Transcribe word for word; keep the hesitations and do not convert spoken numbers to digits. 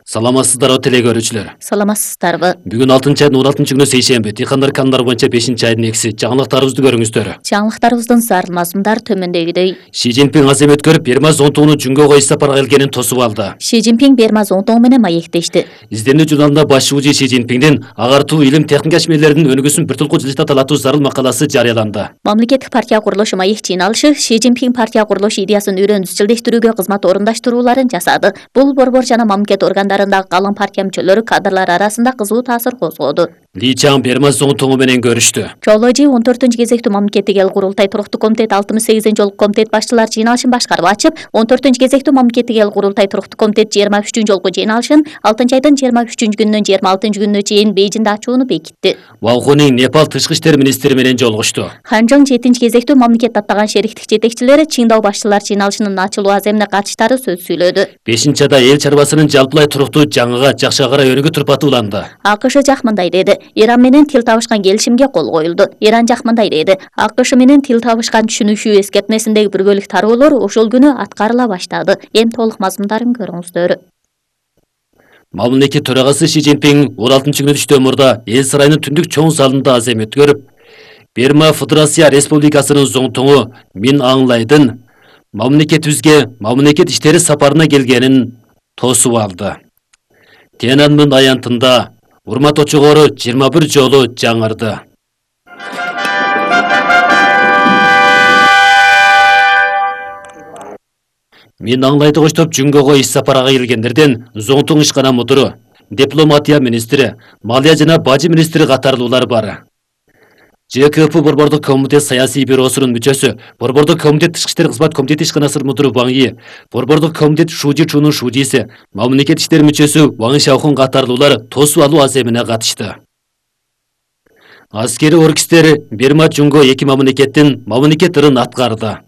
Саламатсыздарбы теле көрүүчүлөр. Саламатсыздарбы. Бүгүн алтынчы айдын он алтынчы күнү сейшемби. Тыйкандар канундар боюнча бешинчи айдын экиси. Жаңылыктарыбызды көрүңүздөр. Жаңылыктарыбыздын зарыл мазмундар төмөндөгүдөй. Ши Цзиньпин аз эми өткөрүп Бермаз зонтугунун Жүнгө коюш сапарга келгенин тосуп алды. Ши Цзиньпин Бермаз зонтугу менен маектешти. Изденүү журналында баш шуужу Ши Цзиньпиндин агартуу илим техника ишмерлеринин өнүгүүсүн бир толку жылжыта талаттуу зарыл макаласы жарыяланды. Мамлекеттик партия курулушу маек жыйналышы Ши Цзиньпин партия курулуш идеясын үйрөнүп изчилдештирүүгө кызмат орундашырууларын жасады. Бул борбор жана мамлекет органдарындагы калың партия мүчөлөрү кадрлар арасында кызуу таасир козгоду. Ли Чаң Бермаз зонтугу менен көрүштү. Чооложи он төртүнчү кезектүү мамлекеттик эл курултай туруктуу комитет алтымыш сегизинчи жолку комитет башчылар жыйналышын башкарып ачып, он төртүнчү кезектүү мамлекеттик эл курултай туруктуу комитет жыйырма үчүнчү жолку жыйналышын алтынчы айдын жыйырма үчүнчү күнүнөн жыйырма алтынчы күнүнө чейин Бейжиңде ачууну бекитти. Валхунин Непал тышкы иштер министри менен жолугушту. Ханжоң жетинчи кезектүү мамлекет аттаган шериктик жетекчилери Чыңдау башчылар жыйналышынын ачылуу аземине катыштары сөз сүйлөдү. бешинчи айда эл чарбасынын жалпылай туруктуу жаңыга жакшы карай өнүгүү турпаты уланды. АКШ жак мындай деди: Иран менен тил табышкан келишимге кол коюлду. Иран жак мындай деди: АКШ менен тил табышкан түшүнүшүү эскертмесиндеги биргөлүк тароолор ошол күнү аткарыла баштады. Эми толук мазмундарын көрүңүздөр. Мамлекет төрагасы Ши Цзиньпин он алтынчы күнү түштө мурда эл сарайынын түндүк чоң залында аз эми өткөрүп, Берма Федерация Республикасынын зоңтуңу Мин Аңлайдын мамлекетибизге мамлекет иштери сапарына келгенин тосуп алды. Тяньаньмэнь аянтында урмат очогору жыйырма бир жолу жаңырды. Мин Аңлайды коштоп Жүнгөгө иш сапарга келгендерден зоңтуң ишкана мудуру, дипломатия министри, малия жана бажы министри катарлуулар бар. ЖКП борбордук комитет саясий бюросунун мүчөсү, борбордук комитет тышкы иштер кызмат комитети ишканасынын мудуру Ваң Йи, борбордук комитет Шужи Чунун шужиси, мамлекет иштер мүчөсү Ваң Шаохун катарлуулар тосуп алуу аз эмине катышты. Аскери оркестр Берма Жүнгө эки мамлекеттин мамлекет ырын аткарды.